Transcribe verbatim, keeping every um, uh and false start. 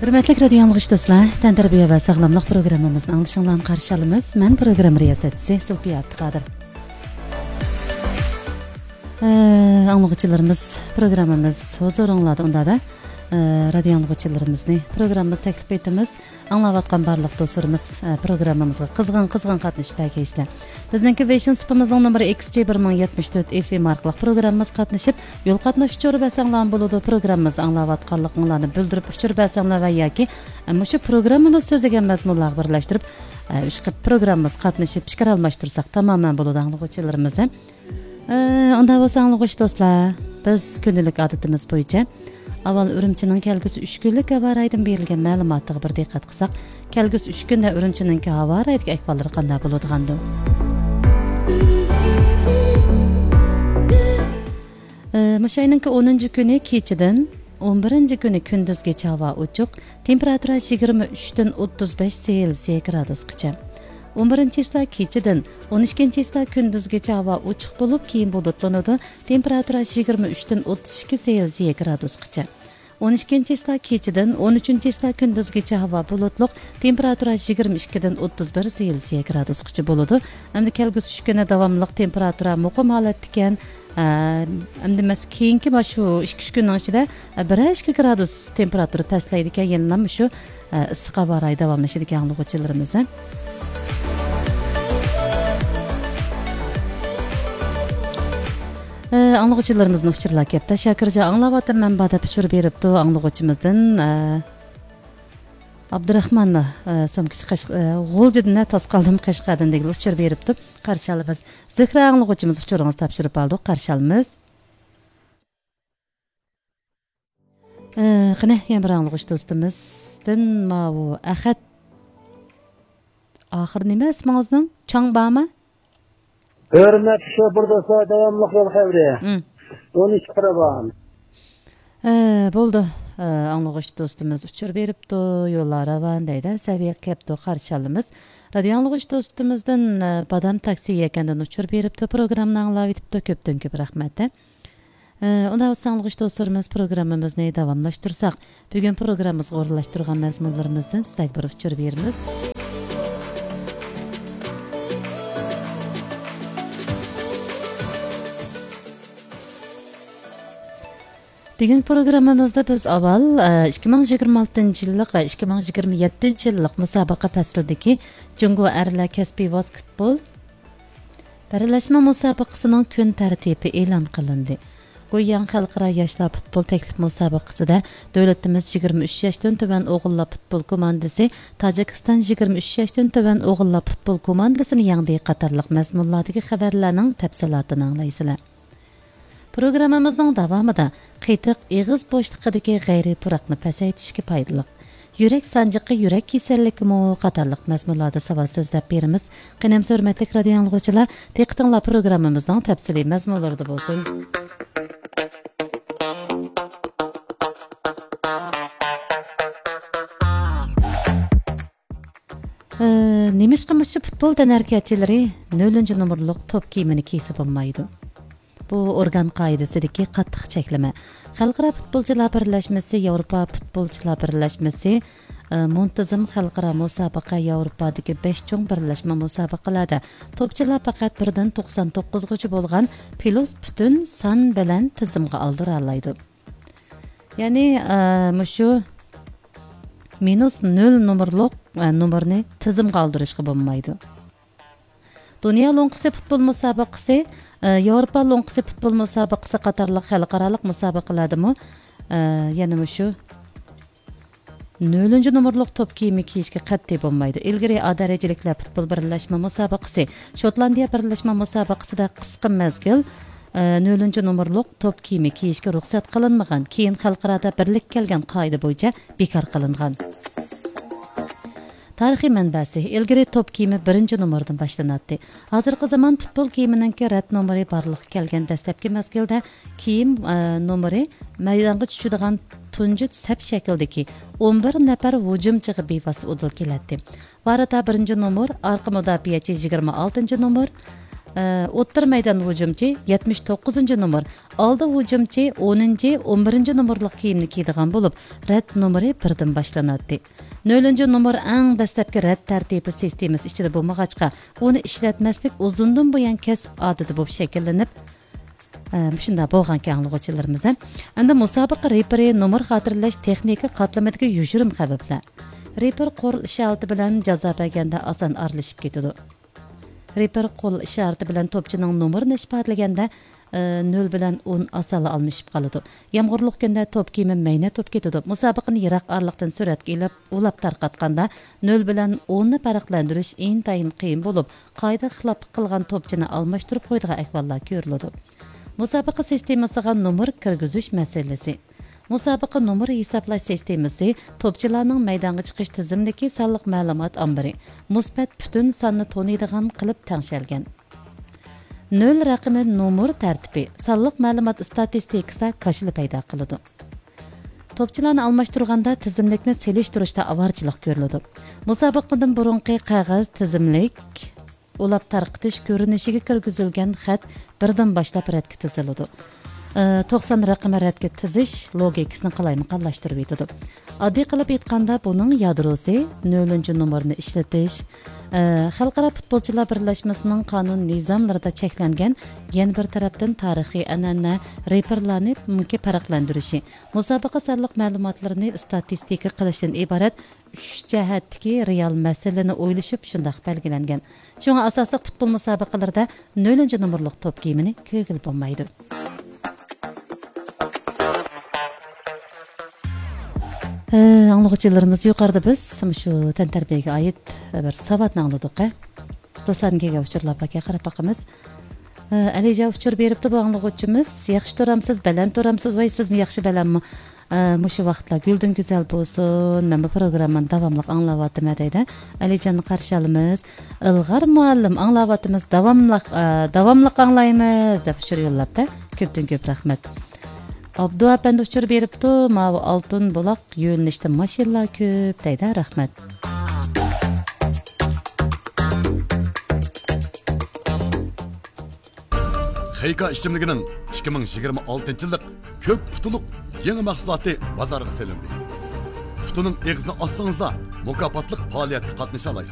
ھۆرمەتلىك رادىيو ئاڭلىغۇچى دوستلار، تەنتەربىيە ۋە ساغلاملىق پروگراممىمىزنى ئاڭلىشىڭلارنى قارشى ئالىمىز. مەن پروگرامما رىياسەتچىسى زۇلپىيە ئابدۇقادىر. ئە، ئاڭلىغۇچىلىرىمىز، پروگراممىمىز ھۇزۇرۇڭلاردا ئۇندادا. ئە، رادىيو ئاڭلىغۇچىلىرىمىزنى پروگراممىمىز تەكلىپ ئېتىمىز. ئاڭلاۋاتقان بارلىق دوستلىرىمىز، ئە، پروگراممىمىزغا قىزغىن، قىزغىن قاتنىشىپ بەرگەيسىلەر. بىزنىڭكى ۋېيشىن سۇپىمىزنىڭ نومۇرى ئېكس جى بىر مىڭ يەتمىش تۆت ئېف ئېم ئارقىلىق پروگراممىمىزغا قاتنىشىپ، يول قاتناش ئۇچۇرى بەرسەڭلارمۇ بولىدۇ. پروگراممىمىزنى ئاڭلاۋاتقانلىقىڭلارنى بىلدۈرۈپ ئۇچۇر بەرسەڭلار ۋە ياكى، ئە، مۇشۇ پروگراممىمىز سۆزلىگەن مەزمۇنلارغا بىرلەشتۈرۈپ، ئە، ئىشقىلىپ پروگراممىمىزغا قاتنىشىپ پىكىر ئالماشتۇرساق تامامەن بولىدۇ ئاڭلىغۇچىلىرىمىز. ئە، ئۇنداق بولسا ئاڭلىغۇچى دوستلار، بىز كۈندىلىك ئادىتىمىز بويىچە ئاۋۋال ئۈرۈمچىنىڭ كەلگۈسى ئۈچ كۈنلۈك ھاۋا رايىدىن بېرىلگەن مەلۇماتىغا بىر دىققەت قىلساق، كەلگۈسى ئۈچ كۈندە ئۈرۈمچىنىڭكى ھاۋا رايىدىكى ئەھۋاللىرى قانداق بولىدىغاندۇ؟ ئى، مۇشۇ ئاينىڭكى ئونىنچى كۈنى كېچىدىن ئون بىرىنچى كۈنى كۈندۈزگىچە ھاۋا ئوچۇق، تېمپېراتۇرا يىگىرمە ئۈچتىن ئوتتۇز بەش سېلسىيە گرادۇسقىچە. ئون بىرىنچى چىسلا كېچىدىن ئون ئىككىنچى چىسلا كۈندۈزگىچە ھاۋا ئوچۇق بولۇپ، كېيىن بۇلۇتلىنىدۇ، تېمپېراتۇرا يىگىرمە ئۈچتىن ئوتتۇز ئىككى سېلسىيە گرادۇسقىچە. ئون ئىككىنچى چىسلا كېچىدىن ئون ئۈچىنچى چىسلا كۈندۈزگىچە ھاۋا بۇلۇتلۇق، تېمپېراتۇرا يىگىرمە ئىككىدىن ئوتتۇز بىر سېلسىيە گرادۇسقىچە بولىدۇ. ئەمدى كەلگۈسى ئۈچ كۈنى داۋاملىق تېمپېراتۇرا مۇقىم ھالەتتىكەن. ئە، ئەمدى مەس-، كېيىنكى مانا شۇ ئىككى، ئۈچ كۈننىڭ ئىچىدە، ئە، بىرەر ئىككى گرادۇس تېمپېراتۇرا پەسلەيدىكەن، يەنىلا مۇشۇ، ئە، ئىسسىق ھاۋا رايى داۋاملىشىدىكەن ئاڭلىغۇچىلىرىمىز. ئە، ئاڭلىغۇچىلىرىمىزدىن ئۇچۇرلار كەپتۇ. شاكىرجان ئاڭلاۋاتىمەن بار دەپ ئۇچۇر بېرىپتۇ ئاڭلىغۇچىمىزدىن. ئە، ئابدۇراخمان، ئە، سومكىچى قەش-، ئە، غۇلجىدىن تاس قالدىم قەشقەردىن دېگىلى ئۇچۇر بېرىپتۇ. قارشى ئالىمىز. زۆھرە ئاڭلىغۇچىمىز ئۇچۇرىڭىزنى تاپشۇرۇپ ئالدۇق. قارشى ئالىمىز. ئە، قېنى، يەنە بىر ئاڭلىغۇچى دوستىمىزدىن ماۋۇ ئەخەت. ئاخىرى نېمە ئىسمىڭىزنىڭ؟ چاڭ بارمۇ؟ ھۆرمەتلىك شوپۇر دوستلار، داۋاملىق يول خەۋىرى. مم. ئون ئىككى قىرى بار. ئە، بولدى. ئە، ئاڭلىغۇچى دوستىمىز ئۇچۇر بېرىپتۇ، يوللار راۋان دەيدۇ. سەۋىيەگە كەپتۇ، قارشى ئالىمىز. رادىيو ئاڭلىغۇچى دوستىمىزدىن، ئە، بادام تاكسى يەكەندىن ئۇچۇر بېرىپتۇ، پروگراممىنى ئاڭلاۋېتىپتۇ، كۆپتىن كۆپ رەھمەت. ئە، ئۇنداق بولسا ئاڭلىغۇچى دوستلىرىمىز، پروگراممىمىزنى داۋاملاشتۇرساق، بۈگۈن پروگراممىمىزغا ئورۇنلاشتۇرغان مەزمۇنلىرىمىزدىن سىزگە بىر ئۇچۇر بېرىمىز. بۈگۈنكى پروگراممىمىزدا بىز ئاۋۋال، ئە، ئىككى مىڭ يىگىرمە ئالتىنچى يىللىق ۋە ئىككى مىڭ يىگىرمە يەتتىنچى يىللىق مۇسابىقە پەسلىدىكى جۇڭگو ئەرلەر كەسپىي ۋاسكېتبول بىرلەشمە مۇسابىقىسىنىڭ كۈن تەرتىپى ئېلان قىلىندى. گۇيياڭ خەلقئارا ياشلار پۇتبول تەكلىپ مۇسابىقىسىدە دۆلىتىمىز يىگىرمە ئۈچ ياشتىن تۆۋەن ئوغۇللار پۇتبول كوماندىسى تاجىكىستان يىگىرمە ئۈچ ياشتىن تۆۋەن ئوغۇللار پۇتبول كوماندىسىنى يەڭدى قاتارلىق مەزمۇنلاردىكى خەۋەرلەرنىڭ تەپسىلاتىنى ئاڭلايسىلەر. پروگراممىمىزنىڭ داۋامىدا قېتىق ئېغىز بوشلۇقىدىكى غەيرىي پۇراقنى پەسەيتىشكە پايدىلىق، يۈرەك سانجىقى يۈرەك كېسەللىكىمۇ قاتارلىق مەزمۇنلاردا ساۋات سۆزلەپ بېرىمىز. قېنى ئەمسە ھۆرمەتلىك رادىيو ئاڭلىغۇچىلار، دىققىتىڭلار پروگراممىمىزنىڭ تەپسىلىي مەزمۇنلىرىدا بولسۇن. ئى، نېمىشقا مۇشۇ پۇتبول تەنھەرىكەتچىلىرى نۆلىنچى نومۇرلۇق توپ كىيىمىنى كىيسە بولمايدۇ؟ بۇ ئورگان قائىدىسىدىكى قاتتىق چەكلىمە. خەلقئارا پۇتبولچىلار بىرلەشمىسى، ياۋروپا پۇتبولچىلار بىرلەشمىسى، ئى، مۇنتىزىم خەلقئارا مۇسابىقە، ياۋروپادىكى بەش چوڭ بىرلەشمە مۇسابىقىلەردە توپچىلار پەقەت بىردىن توقسان توققۇزغىچە بولغان پلۇس پۈتۈن سان بىلەن تىزىمغا ئالدۇرالايدۇ. يەنى، ئە، مۇشۇ مىنۇس نۆل نومۇرلۇق، ئە، نومۇرنى تىزىمغا ئالدۇرۇشقا بولمايدۇ. دۇنيا لوڭقىسى پۇتبول مۇسابىقىسى، ئە، ياۋروپا لوڭقىسى پۇتبول مۇسابىقىسى قاتارلىق خەلقئارالىق مۇسابىقىلەردىمۇ، ئە، يەنە مۇشۇ نۆلىنچى نومۇرلۇق توپ كىيىمى كىيىشكە قەتئىي بولمايدۇ. ئىلگىرى ئا دەرىجىلىكلەر پۇتبول بىرلەشمە مۇسابىقىسى، شوتلاندىيە بىرلەشمە مۇسابىقىسىدە قىسقا مەزگىل، ئە، نۆلىنچى نومۇرلۇق توپ كىيىمى كىيىشكە رۇخسەت قىلىنمىغان، كېيىن خەلقئارادا بىرلىككە كەلگەن قائىدە بويىچە بىكار قىلىنغان. تارىخىي مەنبەسى، ئىلگىرى توپ كىيىمى بىرىنچى نومۇردىن باشلىناتتى. ھازىرقى زامان پۇتبول كىيىمىنىڭكى رەت نومۇرى بارلىققا كەلگەن دەسلەپكى مەزگىلدە كىيىم، ئە، نومۇرى مەيدانغا چۈشىدىغان تۇنجى سەپ شەكلىدىكى ئون بىر نەپەر ھۇجۇمچىغا بىۋاسىتە ئۇدۇل كېلەتتى. ۋاراتتا بىرىنچى نومۇر، ئارقا مۇداپىئەچى يىگىرمە ئالتىنچى نومۇر، ئوتتۇرا مەيدان ھۇجۇمچى يەتمىش توققۇزىنچى نومۇر، ئالدى ھۇجۇمچى ئونىنچى، ئون بىرىنچى نومۇرلۇق كىيىمنى كىيىدىغان بولۇپ، رەت نومۇرى بىردىن باشلىناتتى. نۆلىنچى نومۇر ئەڭ دەسلەپكى رەت تەرتىپى سىستېمىسى ئىچىدە بولمىغاچقا، ئۇنى ئىشلەتمەسلىك ئۇزۇندىن بۇيان كەسىپ ئادىتى بولۇپ شەكىللىنىپ، ئە، مۇشۇنداق بولغانكەن ئاڭلىغۇچىلىرىمىز. ئەمدى مۇسابىقە رېپىرى نومۇر خاتىرىلەش تېخنىكا قاتلىمىدىكى يوشۇرۇن خەۋپلەر. رېپىر قول ئىشارىتى بىلەن جازا بەرگەندە ئاسان ئارىلىشىپ كېتىدۇ. رېپىر قول ئىشارىتى بىلەن توپچىنىڭ نومۇرىنى ئىپادىلىگەندە، ئە، نۆل بىلەن ئون ئاسانلا ئالمىشىپ قالىدۇ. يامغۇرلۇق كۈندە توپ كىيىمى مەينەت بولۇپ كېتىدۇ. مۇسابىقىنى يىراق ئارىلىقتىن سۈرەتكە ئېلىپ، ئۇلاپ تارقاتقاندا، نۆل بىلەن ئوننى پەرقلەندۈرۈش ئىنتايىن قىيىن بولۇپ، قائىدىگە خىلاپلىق قىلغان توپچىنى ئالماشتۇرۇپ قويىدىغان ئەھۋاللار كۆرۈلىدۇ. مۇسابىقە سىستېمىسىغا نومۇر كىرگۈزۈش مەسىلىسى. مۇسابىقە نومۇر ھېسابلاش سىستېمىسى توپچىلارنىڭ مەيدانغا چىقىش تىزىملىكى سانلىق مەلۇمات ئامبىرى، مۇسبەت پۈتۈن ساننى تونۇيدىغان قىلىپ تەڭشەلگەن. نۆل رەقىمى نومۇر تەرتىپى سانلىق مەلۇمات ئىستاتىستىكىسىدا كاشىلا پەيدا قىلىدۇ. توپچىلارنى ئالماشتۇرغاندا تىزىملىكنى سېلىشتۇرۇشتا ئاۋارىچىلىق كۆرۈلىدۇ. مۇسابىقىدىن بۇرۇنقى قەغەز تىزىملىك، ئۇلاپ تارقىتىش كۆرۈنۈشىگە كىرگۈزۈلگەن خەت بىردىن باشلاپ رەتكە تىزىلىدۇ. ئى، توقسان رەقىمى رەتكە تىزىش لوگىكىسىنى قالايمىقانلاشتۇرۇۋېتىدۇ. ئاددىي قىلىپ ئېيتقاندا، بۇنىڭ يادروسى نۆلىنچى نومۇرنى ئىشلىتىش، ئى، خەلقئارا پۇتبولچىلار بىرلەشمىسىنىڭ قانۇن نىزاملىرىدا چەكلەنگەن، يەنە بىر تەرەپتىن تارىخىي ئەنئەنە، رېپىرلارنى مۇمكىن پەرقلەندۈرۈشى، مۇسابىقە سانلىق مەلۇماتلىرىنى ئىستاتىستىكا قىلىشتىن ئىبارەت ئۈچ جەھەتتىكى رېئال مەسىلىنى ئويلىشىپ شۇنداق بەلگىلەنگەن. شۇڭا ئاساسلىق پۇتبول مۇسابىقىلىرىدە نۆلىنچى نومۇرلۇق توپ كىيىمىنى كىيگىلى بولمايدۇ. ئە، ئاڭلىغۇچىلىرىمىز، يۇقىرىدا بىز مۇشۇ تەنتەربىيەگە ئائىت بىر ساۋاتنى ئاڭلىدۇق، ھە؟ دوستلاردىن كەلگەن ئۇچۇرلار باركەن، قاراپ باقىمىز. ئە، ئەلىجان ئۇچۇر بېرىپتۇ بۇ ئاڭلىغۇچىمىز. ياخشى تۇرامسىز، بەلەن تۇرامسىز، ۋاي سىزمۇ ياخشى بەلەنمۇ؟ ئە، مۇشۇ ۋاقىتلار گۈلدىن گۈزەل بولسۇن. مەن بۇ پروگراممىنى داۋاملىق ئاڭلاۋاتىمەن دەيدۇ. ئەلىجاننى قارشى ئالىمىز. ئىلغار مۇئەللىم، ئاڭلاۋاتىمىز، داۋاملىق، ئە، داۋاملىق ئاڭلايمىز دەپ ئۇچۇر يوللاپتۇ. كۆپتىن كۆپ رەھمەت. ئابدۇ ئەپەندى ئۇچۇر بېرىپتۇ، ماۋۇ ئالتۇن بۇلاق يۆنىلىشتە ماشىنىلار كۆپ دەيدۇ، رەھمەت. خېيكا ئىچىملىكىنىڭ ئىككى مىڭ يىگىرمە ئالتىنچى يىللىق كۆك پۇتۇلۇق يېڭى مەھسۇلاتى بازارغا سېلىندى. پۇتۇنىڭ ئېغىزىنى ئاچسىڭىزلا، مۇكاپاتلىق پائالىيەتكە قاتنىشالايسىز.